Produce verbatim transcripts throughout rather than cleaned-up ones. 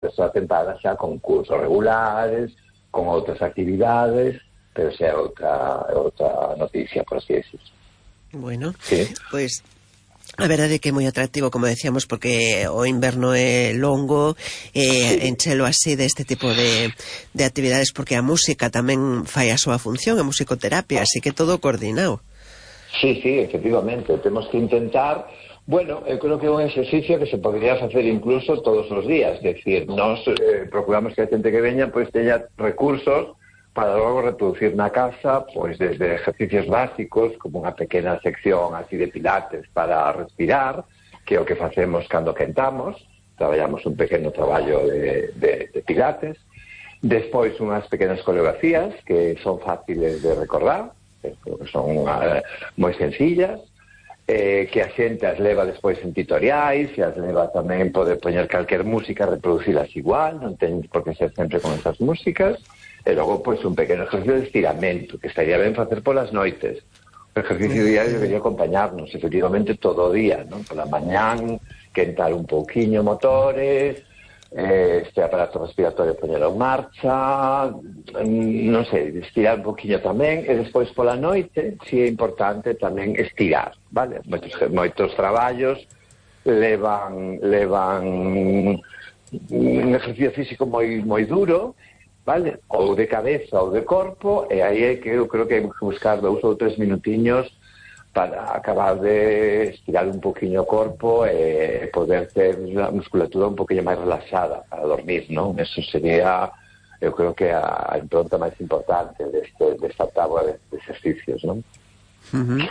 persoa tentada xa con cursos regulares, con outras actividades, pero xa é outra, outra noticia, por así decir. Bueno, sí. Pois a verdade é que é moi atractivo, como decíamos, porque o inverno é longo, e sí. enchelo así deste tipo de, de actividades, porque a música tamén fai a súa función, a musicoterapia, así que todo coordinado. Sí, sí, efectivamente, temos que intentar. Bueno, eu creo que é un exercicio que se podría facer incluso todos os días, es decir, nos eh, procuramos que a xente que veña pois teña recursos para logo reproducir na casa, pois desde ejercicios básicos, como unha pequena sección así de pilates para respirar, que é o que facemos cando quentamos, traballamos un pequeno traballo de, de, de pilates, despois unhas pequenas coreografías que son fáciles de recordar, que son uh, moi sencillas, eh, que a xente as leva despois en tutoriais, e as leva tamén poder poñer calquer música, reproducilas igual, non ten por que ser sempre con esas músicas. E logo, pois, un pequeno exercicio de estiramento, que estaría ben facer polas noites. O exercicio diario debería acompañarnos, efectivamente, todo o día, non? Pola mañán, quentar un pouquiño motores, eh, este aparato respiratorio poñelo en marcha, non sei, estirar un pouquiño tamén, e despois pola noite, si é importante tamén estirar, vale? Moitos, moitos traballos levan, levan un exercicio físico moi, moi duro, vale? Ou de cabeza ou de corpo, e aí é que eu creo que hai que buscar dous ou tres minutiños para acabar de estirar un poquinho o corpo e poder ter a musculatura un poquinho máis relaxada para dormir, non? Eso sería, eu creo que a impronta máis importante deste, desta táboa de exercicios, non? Uh-huh.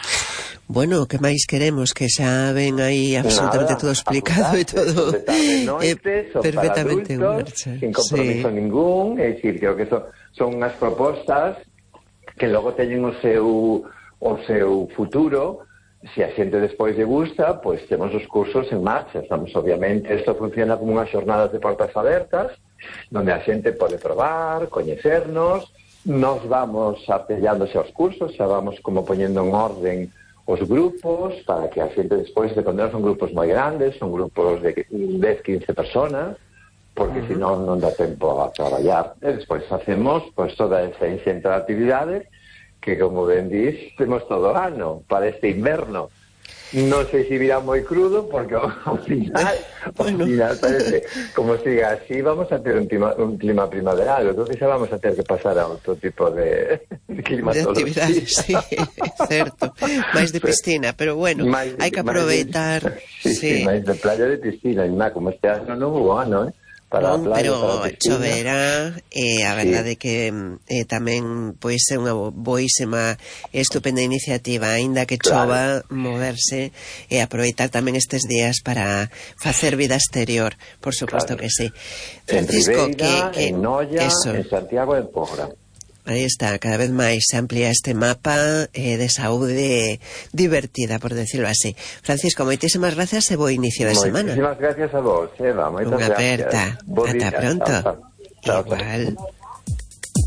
Bueno, que máis queremos? Que xa ven aí absolutamente Nada, todo explicado e todo noites, eh, perfectamente en marcha, sin compromiso sí. ningún, é dicir, creo que son, son unhas propostas que logo teñen o seu o seu futuro. Se a xente despois lle gusta, pois temos os cursos en marcha. Estamos, obviamente, isto funciona como unhas xornadas de portas abertas, donde a xente pode probar, coñecernos. Nos vamos apellándose aos cursos, xa vamos como poñendo en orden os grupos, para que a xente despois, de cando son grupos moi grandes, son grupos de dez, quince personas, porque uh -huh. senón non dá tempo a traballar. E despois facemos pois, toda esa inxente de actividades que, como ben dis, temos todo o ano para este inverno. Non sei se virá moi crudo, porque ao final, bueno. ao final parece, como siga así, vamos a ter un clima, un clima primaveral, entón xa vamos a ter que pasar a outro tipo de, de climatología. De actividades, sí, certo. Máis de piscina, pero bueno, hai que aproveitar. De, sí, sí, sí, máis de playa de piscina, e má, como este ano non hubo ano, eh? Para non, playa, pero choverá, e eh, a verdade sí. que eh, tamén pois é unha boísima e estupenda iniciativa, aínda que chova, claro. moverse e aproveitar tamén estes días para facer vida exterior, por suposto claro. que sí. Francisco, en Ribeira, que, que en Noia, eso. En Santiago e en Pogra. Aí está, cada vez máis se amplía este mapa eh, de saúde divertida, por decirlo así. Francisco, moitísimas gracias e bo inicio de semana. Moitísimas gracias a vos, Eva. Moitas Unha aperta. gracias. Ata pronto. Chao, chao. Igual.